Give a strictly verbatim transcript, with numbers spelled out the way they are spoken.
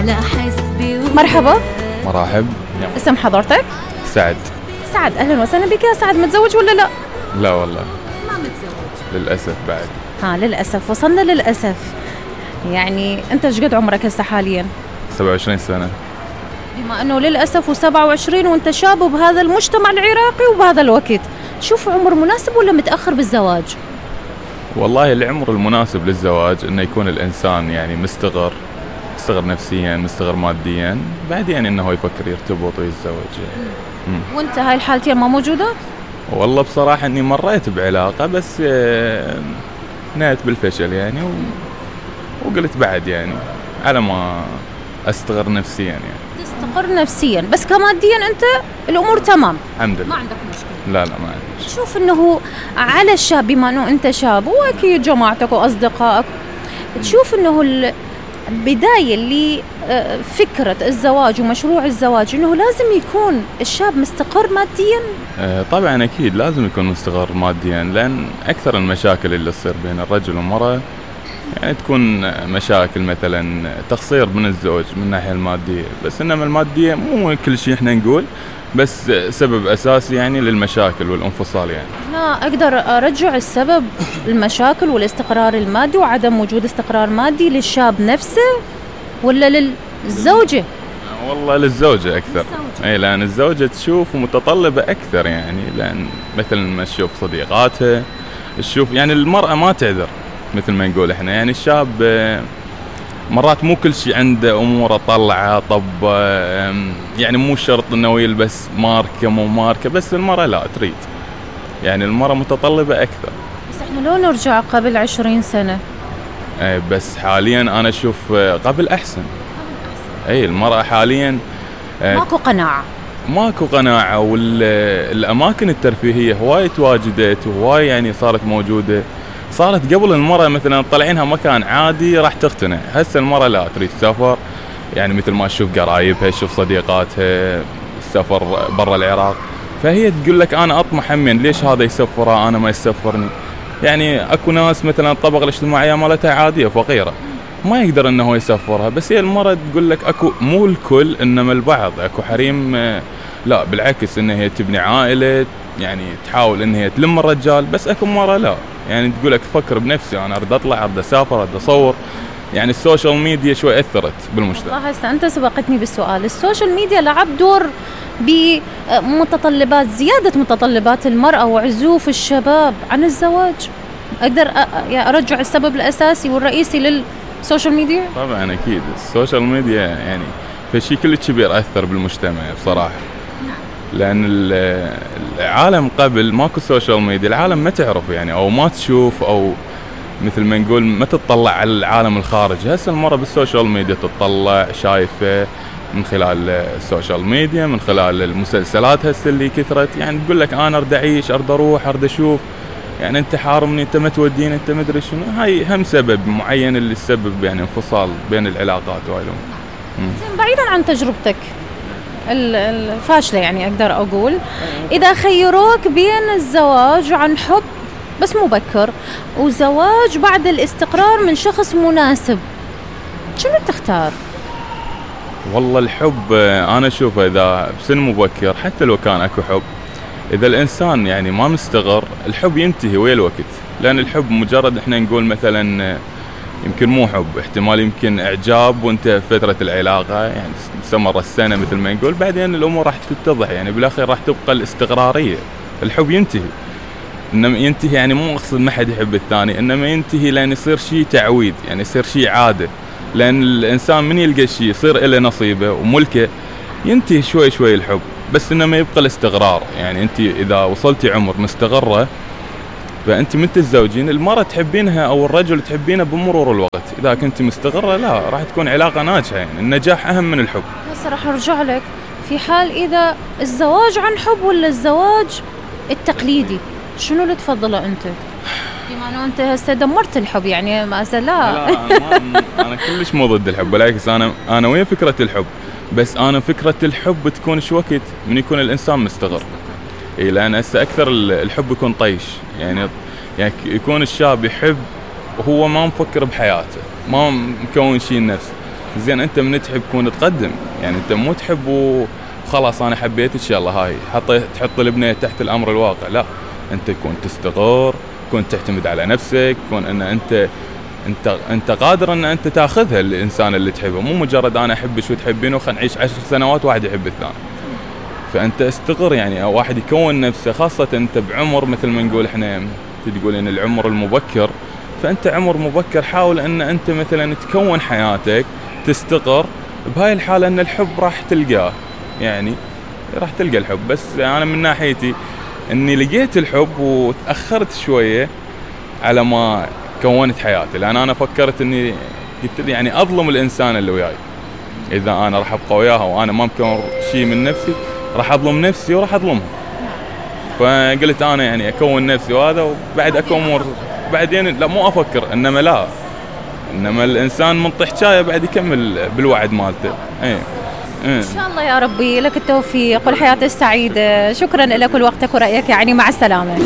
على حسبي. مرحبا. مرحب. اسم حضرتك؟ سعد. سعد، اهلا وسهلا بك يا سعد. متزوج ولا لا؟ لا والله ما متزوج للأسف بعد. ها للأسف، وصلنا للأسف. يعني أنت ايش قد عمرك هسه حاليا؟ سبعة وعشرين سنة. بما أنه للأسف وسبعة وعشرين وأنت شاب بهذا المجتمع العراقي وبهذا الوقت، شوف عمر مناسب ولا متأخر بالزواج؟ والله العمر المناسب للزواج إنه يكون الإنسان يعني مستقر، مستقر نفسيا، مستقر ماديا، بعدين إنه هو يفكر يرتبط ويتزوج يعني. وأنت هاي الحالتين ما موجودة؟ والله بصراحة إني مريت بعلاقة بس نهت بالفشل يعني و... وقلت بعد يعني على ما أستقر نفسيا يعني. تستقر نفسيا بس كماديا أنت الأمور تمام؟ الحمد لله ما عندك مشكلة؟ لا لا ما عندي. شوف إنه على الشاب، بما إنه أنت شاب وأكيد جماعتك وأصدقائك، تشوف إنه البداية لفكرة الزواج ومشروع الزواج إنه لازم يكون الشاب مستقر ماديا؟ آه طبعا أكيد لازم يكون مستقر ماديا، لأن أكثر المشاكل اللي تصير بين الرجل والمرأة يعني تكون مشاكل مثلا تقصير من الزوج من الناحية المادية، بس إنما المادية مو كل شيء إحنا نقول، بس سبب أساسي يعني للمشاكل والانفصال يعني. أنا أقدر أرجع السبب المشاكل والاستقرار المادي وعدم وجود استقرار مادي للشاب نفسه ولا للزوجة؟ والله للزوجة أكثر. أي لأن الزوجة تشوف متطلبة أكثر يعني، لأن مثلا ما تشوف صديقاتها، تشوف يعني المرأة ما تعذر مثل ما نقول إحنا يعني. الشاب مرات مو كل شيء عنده أموره طلعها، طب يعني مو شرط إنه يلبس ماركة مو ماركة، بس المرأة لا تريد يعني، المرأة متطلبة أكثر. بس إحنا لو نرجع قبل عشرين سنة، أي بس حاليا أنا أشوف قبل أحسن. أي المرأة حاليا ماكو قناعة، ماكو قناعة، والأماكن الترفيهية هواي تواجدت وهواي يعني صارت موجودة. صارت قبل المرأة مثلا طلعينها مكان عادي راح تقتنع، هسه المرأة لا تريد تسافر يعني، مثل ما تشوف قرايبها، تشوف صديقاتها، السفر برا العراق، فهي تقول لك أنا أطمح همين، ليش هذا يسفرها أنا ما يسفرني؟ يعني أكو ناس مثلا الطبقة الاجتماعية مالتها عادية فقيرة ما يقدر إنه هو يسفرها، بس هي المرأة تقول لك أكو مو الكل إنما البعض، أكو حريم لا بالعكس إن هي تبني عائلة يعني، تحاول إن هي تلم الرجال، بس أكو مرة لا يعني تقول لك فكر بنفسي، أنا أريد أطلع، أريد أسافر، أريد أصور. يعني السوشيال ميديا شوي أثرت بالمجتمع. والله هسه أنت سبقتني بالسؤال. السوشيال ميديا لعب دور بمتطلبات، زيادة متطلبات المرأة وعزوف الشباب عن الزواج. أقدر أرجع السبب الأساسي والرئيسي للسوشيال ميديا؟ طبعا أكيد السوشيال ميديا يعني في شيء كل كبير أثر بالمجتمع بصراحة، لأن العالم قبل ماكو سوشيال ميديا العالم ما تعرف يعني، أو ما تشوف، أو مثل ما نقول ما تطلع على العالم الخارجي. هسه المرة بالسوشيال ميديا تطلع، شايفة من خلال السوشيال ميديا، من خلال المسلسلات هسه اللي كثرت يعني، تقول لك أنا أرد أعيش، أرد أروح، أرد أشوف يعني، أنت حارمني، أنت ما توديني، أنت مدري شنو. هاي هم سبب معين اللي يسبب يعني انفصال بين العلاقات وهاي الأمور. بعيدا عن تجربتك الفاشلة يعني أقدر أقول، إذا خيروك بين الزواج عن حب بس مبكر وزواج بعد الاستقرار من شخص مناسب، شنو تختار؟ والله الحب أنا أشوفه إذا بسن مبكر حتى لو كان أكو حب، إذا الإنسان يعني ما مستقر الحب ينتهي ويا الوقت، لأن الحب مجرد إحنا نقول مثلا يمكن مو حب، احتمال يمكن إعجاب وانت في فترة العلاقة يعني استمر السنة مثل ما نقول، بعدين الأمور راح تتضح يعني، بالآخر راح تبقى الاستقرارية. الحب ينتهي، إنما ينتهي يعني مو أقصد ما حد يحب الثاني، إنما ينتهي لأن يصير شيء تعويد يعني، يصير شيء عادة، لأن الإنسان من يلقى شيء يصير إله نصيبه وملكه ينتهي شوي شوي الحب، بس إنما يبقى الاستقرار يعني. أنت إذا وصلتي عمر مستقرة فأنت من تتزوجين المرأة تحبينها أو الرجل تحبينه بمرور الوقت، إذا كنت مستقرة لا راح تكون علاقة ناجحة يعني، النجاح أهم من الحب. هسه راح أرجع لك في حال إذا الزواج عن حب ولا الزواج التقليدي، شنو اللي تفضله أنت؟ بما أنه أنت هسه دمرت الحب يعني ما لا لا أنا, ما أنا كلش مو ضد الحب، بالعكس أنا أنا وين فكرة الحب، بس أنا فكرة الحب تكون شو وقت من يكون الإنسان مستقر. إيه لأن هسه أكثر الحب يكون طيش يعني، يعني يكون الشاب يحب وهو ما مفكر بحياته، ما مكون شيء لنفسه، زين انت من تحب كون تقدم، يعني انت مو تحب وخلاص انا حبيتك يلا هاي حطيت تحط البنيه تحت الامر الواقع، لا انت كون تستقر، كون تعتمد على نفسك، كون ان انت انت انت قادر ان انت تاخذها الانسان اللي تحبه، مو مجرد انا احبك وتحبينه وخلينا نعيش عشر سنوات واحد يحب الثاني. فانت استقر، يعني واحد يكون نفسه، خاصه انت بعمر مثل ما نقول احنا تقول ان العمر المبكر، فانت عمر مبكر حاول ان انت مثلا تكون حياتك تستقر، بهاي الحاله ان الحب راح تلقاه، يعني راح تلقى الحب. بس انا من ناحيتي اني لقيت الحب وتاخرت شويه على ما كونت حياتي، لان انا فكرت اني قلت يعني اظلم الانسان اللي وياي اذا انا راح ابقى وياها وانا ما مكون شيء من نفسي، راح اظلم نفسي وراح اظلمها. فقلت انا يعني اكون نفسي وهذا وبعد اكون بعدين لا مو افكر، انما لا انما الانسان من طحشايه بعد يكمل بالوعد مالته. ايه ان شاء الله يا ربي لك التوفيق والحياه السعيده. شكرا لك ولوقتك ورايك، يعني مع السلامه.